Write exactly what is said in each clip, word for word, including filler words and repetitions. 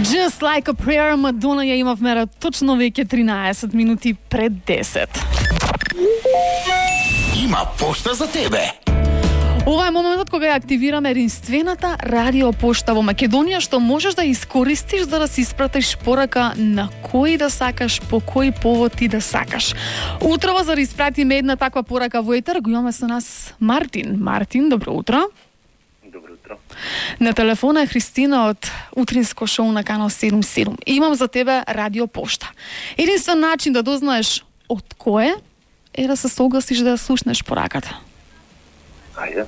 Just like a prayer, Madonna ја имавме точно веќе тринаесет минути пред десет. Има пошта за тебе. Ова е моментот кога ја активираме единствената радио пошта во Македонија, што можеш да искористиш за да си испратиш порака на кој да сакаш, по кој повод ти да сакаш. Утрово за да испратиме една таква порака во етер, го имаме со нас Мартин. Мартин, добро утро. Добро утро. На телефона е Христина од утринско шоу на Канал седум седум. Имам за тебе радио пошта. Единствен начин да дознаеш од кој е да се согласиш да ја слушнеш пораката. Ајде.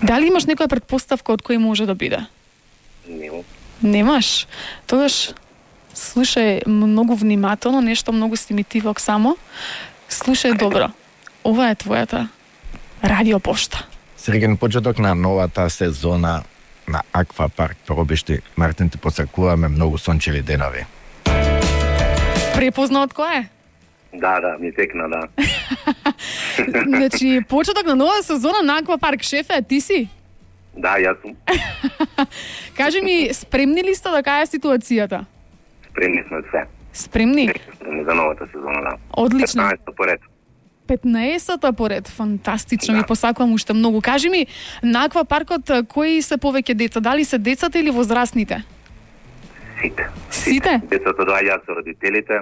Дали имаш некоја предпоставка од кој може да биде? Нема. Немаш? Тогаш слушај многу внимателно, нешто многу стимитивок само. Слушај добро. Ова е твојата радио пошта. Среќен почеток на новата сезона на Аквапарк Пробишти. Мартин, ти посакуваме многу сончеви денови. Препозна од кој е? Да, да, ми текна, да. Значи, почеток на нова сезона на Аквапарк, шефе, ти си? Да, јас сум. Кажи ми, спремни ли сте да каја ситуацијата? Спремни сме се. Спремни? Спремни за новата сезона, да. Одлично. петнаесет поред. петнаесета поред, фантастично, Да. ми посакувам уште многу. Кажи ми, на Аквапаркот кои се повеќе деца? Дали се децата или возрастните? Сите. Сите? Децата доаѓаат со родителите,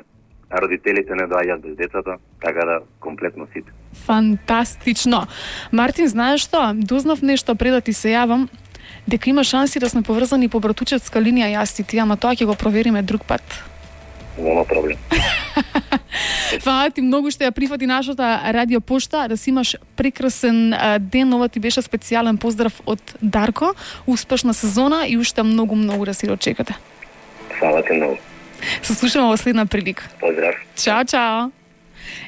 а родителите не доаѓаат без децата, така да комплетно сите. Фантастично. Мартин, знаеш што? Дознав нешто пред да ти се јавам, дека има шанси да сме поврзани по братучевска линија јас и ти, ама тоа ќе го провериме друг пат. Нема проблем. Фала ти многу што ја прифати нашата радио пошта, да си имаш прекрасен а, ден. Ова ти беше специјален поздрав од Дарко, успешна сезона и уште многу многу да си дочекате. Фала ти многу. Се слушаме во следна прилика. Поздрав. Чао, чао.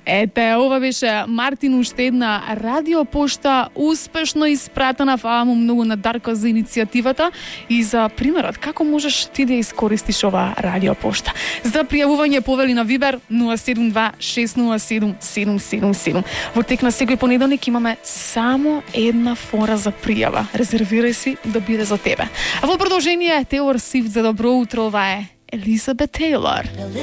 Ете, ова беше Мартин, уште една радио пошта успешно испратена. Фала му многу на Дарко за иницијативата и за примерот како можеш ти да искористиш ова радио пошта. За пријавување повели на Вибер нула седум два шест нула седум седум седум седум. Во тек на секој понеделник имаме само една фора за пријава. Резервирај си да биде за тебе. А во продолжение Тейлор Свифт за добро утро, ова е Елизабет Тейлор.